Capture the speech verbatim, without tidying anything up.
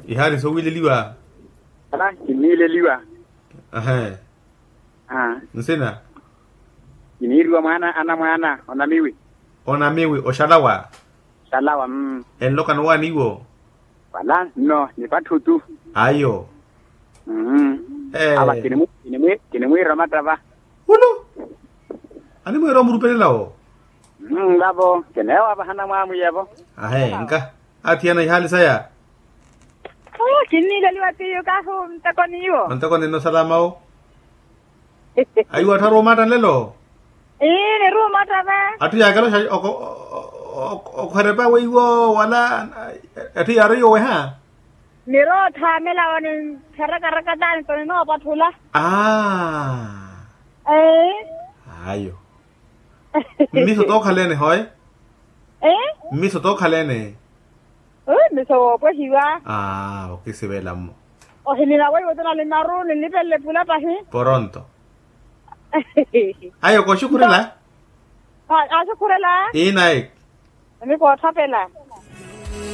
Ihaari sowiileliwa. Ala kinniileliwa. Ahe. Nsina? Kiniiriwa mwaana anamwaana onamiwi. Onamiwi oxalawa. Oxalawa. Enlokani owaani iwo? Wala nno ni patthu tu. Ayo. Awa kinimwiira omattava. Ulu. Animwiira omurupelelawo. Vavo kineewa vahana mwaamwiyevo. Ahe nka. Athiyana ihaali saya. Kinniileliwa tiyo kahi onteko n'iwo. Onteko ninno salama wo. Aiwo atthu aruumatta nlelo. Ii niruumatta ve. Atthu yaakela okhwerepa weiwo wala atthu yaareiwo weha. Niroothaamela wo nintharakarakatani to ninoopatthula. Ayo. Mmiso tookhalene hoye. Mmiso tookhalene. Mmiso woopwehiwa. Okisivela mmo. Ohinina weiwo tuna limaru ninlipelele pula pahi. Poronto. Ayo koxukhurela. Axukhurela. Inayi. Ni koothapela.